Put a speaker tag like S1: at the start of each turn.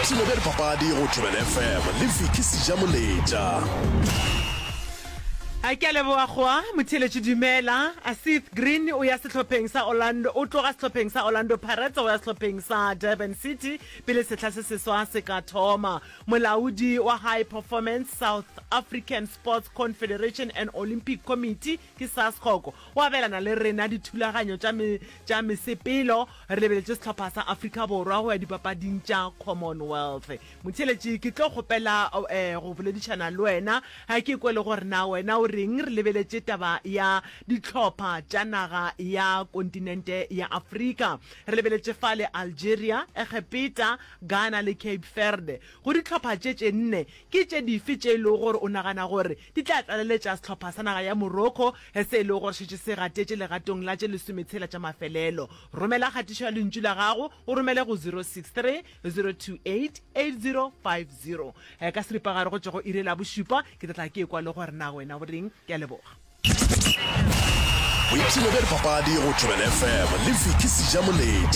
S1: Boipshino bja dipapadi go Thobela FM le Vicky Sejamoletša.
S2: A ke a leboga goa motheeletši dumela. Seth Green o ya sehlopheng sa Orlando o tloga sehlopheng sa Orlando Pirates go ya sehlopheng sa Durban City pele sehla se seswa se ka thoma. Molaodi wa High Performance South African Sports Confederation and Olympic Committee ke SASCOC o abelana le rena dithulaganyo tša me tša mesepelo re lebeletše sehlopha sa Afrika Borwa go ya dipapading tša Commonwealth. Motheeletši, ke tlo kgopela go boledišana le wena ke kwe le gore na wena o reng re lebeletše taba ya dihlopha tša naga ya kontinente ya Afrika. Re lebeletše fale Algeria, Egepeta, Ghana le Cape Verde. Go dihlopha tše tše nne, ke tše dife tše e lego gore o nagana gore di tla tlaleletša sehlopha sa naga ya Morocco se e lego gore šetše se gatetše legatong la tše lesometshela tša mafelelo? Romela kgatišo ya lentšu la gago o romele go 063 028 8050. Ka seripagare go tšwa go iri la bošupa ke tla tla ke ekwa le gore na wena o reng. Ke a leboga.
S1: Boipshino bja dipapadi go Thobela FM le Vicky Sejamoletša.